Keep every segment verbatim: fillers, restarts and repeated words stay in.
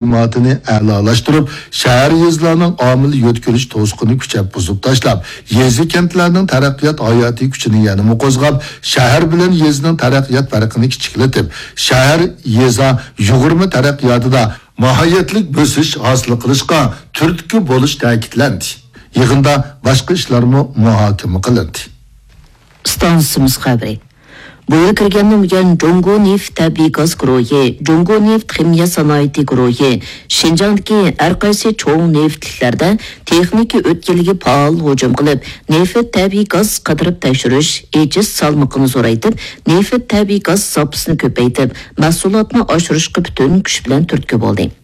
مۇلازىماتىنى ئەلالاشتۇرۇپ، شەھەر، يېزىلارنىڭ ئامىلى يۆتكىلىش توسۇقىنى كۈچەپ بۇزۇپ تاشلاپ، يېزا، كەنتلەرنىڭ تەرەققىيات ھاياتىي كۈچىنى يەنىمۇ قوزغاپ، شەھەر بىلەن يېزىنىڭ تەرەققىيات پەرقىنى كىچىكلىتىپ، شەھەر، يېزا يۇغۇرما تەرەققىياتىدا ماھىيەتلىك بۆسۈش ھاسىل قىلىشقا تۈرتكە بولۇش تەكىتلەندى. يىغىندا باشقا ئىشلارمۇ مۇھاكىمە قىلىندى. ئىستانسىمىز خەۋىرى. بۇ يىل كىرگەندىن بۇيان، جۇڭگو نېفىت تەبىئىي گاز گۇرۇھى، جۇڭگو نېفىت خىمىيە سانائىتى گۇرۇھى شىنجاڭدىكى ھەر قايسى چوڭ نېفىتلىكلەردە تېخنىكا ئۆتكەلگە پائال ھۇجۇم قىلىپ، نېفىت تەبىئىي گاز قىدىرىپ تەكشۈرۈش، ئېچىش سالمىقىنى زورايتىپ، نېفىت تەبىئىي گاز زاپىسىنى كۆپەيتىپ، مەھسۇلاتنى ئاشۇرۇشقا پۈتۈن كۈچ بىلەن تۈرتكە بولدى.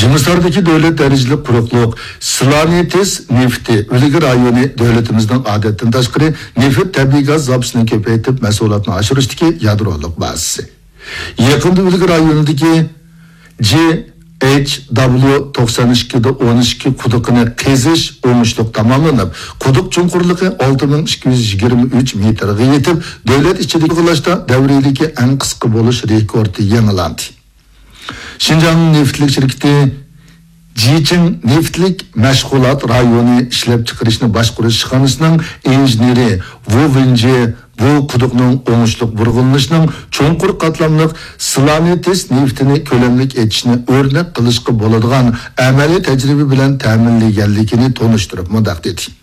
جىمىساردىكى دۆلەت دەرىجىلىك قۇرۇقلۇق سلانېتس نېفىتى ئۈلگە رايونى دۆلىتىمىزنىڭ ئادەتتىن تاشقىرى نېفىت تەبىئىي گاز زاپىسىنى كۆپەيتىپ، مەھسۇلاتنى ئاشۇرۇشتىكى يادرولۇق بازىسى. يېقىندا ئۈلگە رايونىدىكى جى ئېچ دابليۇ توقسان ئىككى دە ئون ئىككى قۇدۇقىنى قېزىش ئوڭۇشلۇق تاماملىنىپ، قۇدۇق چوڭقۇرلۇقى ئالتە مىڭ ئىككى يۈز يىگىرمە ئۈچ مېتىرغا يېتىپ، دۆلەت ئىچىدىكى تولۇقلاشتا دەۋرىيلىكى ئەڭ قىسقا بولۇش رېكورتى يېڭىلاندى. شىنجاڭ نېفىتلىك شىركىتى جىچىڭ نېفىتلىك مەشغۇلات رايونى ئىشلەپچىقىرىشنى باشقۇرۇش ئىشخانىسىنىڭ ئىنژېنېرى ۋۇ ۋېنجى بۇ قۇدۇقنىڭ ئوڭۇشلۇق بۇرغىلىنىشىنىڭ چوڭقۇر قاتلاملىق سلانېتس نېفىتىنى كۆلەملىك ئېچىشنى ئۆرنەك قىلىشقا بولىدىغان ئەمەلىي تەجرىبە بىلەن تەمىنلىگەنلىكىنى تونۇشتۇرۇپ مۇنداق دېدى.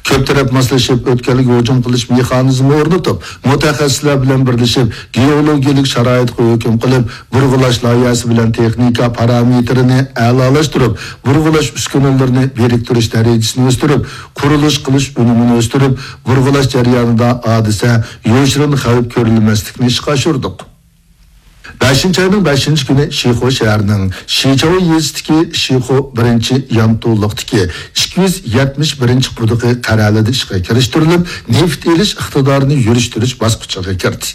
كۆپ تەرەپ ماسلىشىپ، ئۆتكەلگە ھۇجۇم قىلىش مېخانىزمى ئورنىتىپ، مۇتەخەسسىسلەر بىلەن بىرلىشىپ، گېئولوگىيەلىك شارائىتقا ھۆكۈم قىلىپ، بۇرغىلاش لايىھەسى بىلەن تېخنىكا پارامېتىرىنى ئەلالاشتۇرۇپ، بۇرغىلاش ئۈسكۈنىلىرىنى بىرىكتۈرۈش دەرىجىسىنى ئۆستۈرۈپ، قۇرۇلۇش قىلىش ئۈنۈمىنى ئۆستۈرۈپ، بۇرغىلاش جەريانىدا ھادىسە، يوشۇرۇن خەۋپ كۆرۈلمەسلىكنى ئىشقا ئاشۇردۇق. بەشىنچى ئاينىڭ بەشىنچى كۈنى شىخۇ شەھىرىنىڭ شىچاۋ يېزىسىدىكى شىخۇ بىرىنچى يانتۇلۇقتىكى ئىككى يۈز يەتمىش بىرىنچى قۇدۇقى قەرەلىدە ئىشقا كىرىشتۈرۈلۈپ، نېفىت ئېلىش ئىقتىدارىنى يۈرۈشتۈرۈش باسقۇچىغا كىردى.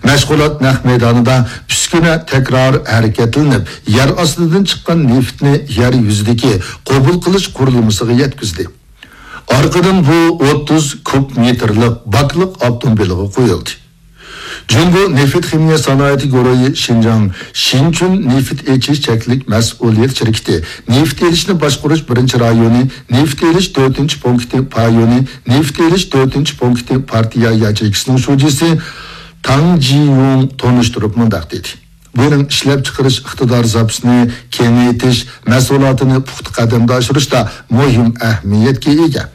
مەشغۇلات نەق مەيدانىدا ئۈسكۈنە تەكرار ھەرىكەتلىنىپ، يەر ئاستىدىن چىققان نېفىتنى يەر يۈزىدىكى قوبۇل قىلىش قۇرۇلمىسىغا يەتكۈزدى. ئارقىدىن بۇ ئوتتۇز كۇب مېتىرلىق باكلىق ئاپتوموبىلغا قويۇلدى. جۇڭگو نېفىت خىمىيە سانائىتى گۇرۇھى شىنجاڭ شىنچۈن نېفىت ئېچىش چەكلىك مەسئۇلىيەت شىركىتى نېفىت ئېلىشنى باشقۇرۇش بىرىنچى رايونى، نېفىت ئېلىش تۆتىنچى پونكىتى پايونى، نېفىت ئېلىش تۆتىنچى پونكىتى پارتىيە ياچېيكىسىنىڭ شۇجىسى تاڭ جىيۇڭ تونۇشتۇرۇپ مۇنداق دېدى. بۇنىڭ ئىشلەپچىقىرىش ئىقتىدار زاپىسىنى كېڭەيتىش، مەھسۇلاتىنى پۇختا قەدەمدە ئاشۇرۇشتا مۇھىم ئەھمىيەتكە ئىگە.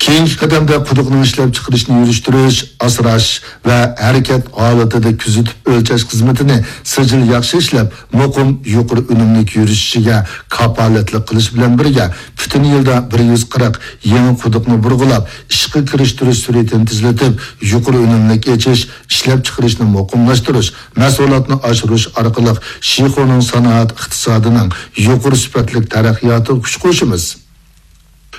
كېيىنكى قەدەمدە قۇدۇقنىڭ ئىشلەپچىقىرىشنى يۈرۈشتۈرۈش، ئاسراش ۋە ھەرىكەت ھالىتىدە كۆزىتىپ ئۆلچەش خىزمىتىنى سىجىل ياخشى ئىشلەپ، مۇقىم يۇقىرى ئۈنۈملۈك يۈرۈشۈشىگە كاپالەتلىك قىلىش بىلەن بىرگە، پۈتۈن يىلدا بىر يۈز قىرىق يېڭى قۇدۇقنى بۇرغىلاپ، ئىشقا كىرىشتۈرۈش سۈرئىتىنى تېزلىتىپ، يۇقىرى ئۈنۈملۈك ئېچىش، ئىشلەپچىقىرىشنى مۇقىملاشتۇرۇش، مەھسۇلاتنى ئاشۇرۇش ئارقىلىق شىخۇنىڭ سانائەت ئىقتىسادىنىڭ يۇقىرى سۈپەتلىك تەرەققىياتىغا كۈچ قوشىمىز.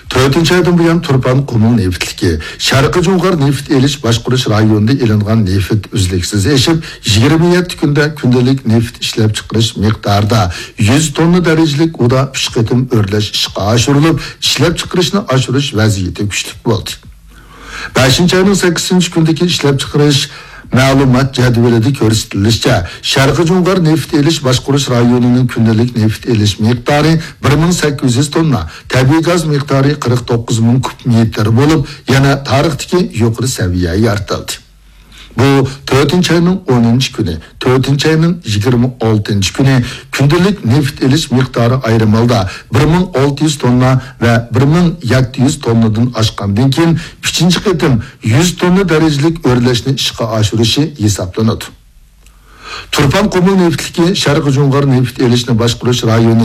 تۆتىنچى ئايدىن بۇيان، تۇرپان قۇمۇل نېفىتلىكى شەرقىي جۇڭغار نېفىت ئېلىش باشقۇرۇش رايونىدا ئېلىنغان نېفىت ئۈزلۈكسىز ئېشىپ، يىگىرمە يەتتە كۈندە كۈندىلىك نېفىت ئىشلەپچىقىرىش مىقدارىدا يۈز توننا دەرىجىلىك ئۇدا ئۈچ قېتىم ئۆرلەش ئىشقا ئاشۇرۇلۇپ، ئىشلەپچىقىرىشنى ئاشۇرۇش ۋەزىيىتى كۈچلۈك بولدى. بەشىنچى ئاينىڭ سەككىزىنچى كۈنىدىكى ئىشلەپچىقىرىش مەلۇمات جەدۋىلىدە كۆرسىتىلىشىچە، شەرقىي جۇڭغار نېفىت ئېلىش باشقۇرۇش رايونىنىڭ كۈندىلىك نېفىت ئېلىش مىقدارى بىر مىڭ سەككىز يۈز توننا، تەبىئىي گاز مىقدارى قىرىق توققۇز مىڭ كۇب مېتىر بولۇپ، يەنە تارىختىكى يۇقىرى سەۋىيە يارىتىلدى. بۇ تۆتىنچى ئاينىڭ ئونىنچى كۈنى، تۆتىنچى ئاينىڭ يىگىرمە ئالتىنچى كۈنى كۈندىلىك نېفىت ئېلىش مىقدارى ئايرىم ھالدا بىر مىڭ ئالتە يۈز توننا ۋە بىر مىڭ يەتتە يۈز توننىدىن ئاشقاندىن كېيىن، ئۈچىنچى قېتىم يۈز توننا دەرىجىلىك ئۆرلەشنى ئىشقا ئاشۇرۇشى ھېسابلىنىدۇ. تۇرپان قۇمۇل نېفىتلىكى شەرقىي جۇڭغار نېفىت ئېلىشنى باشقۇرۇش رايونى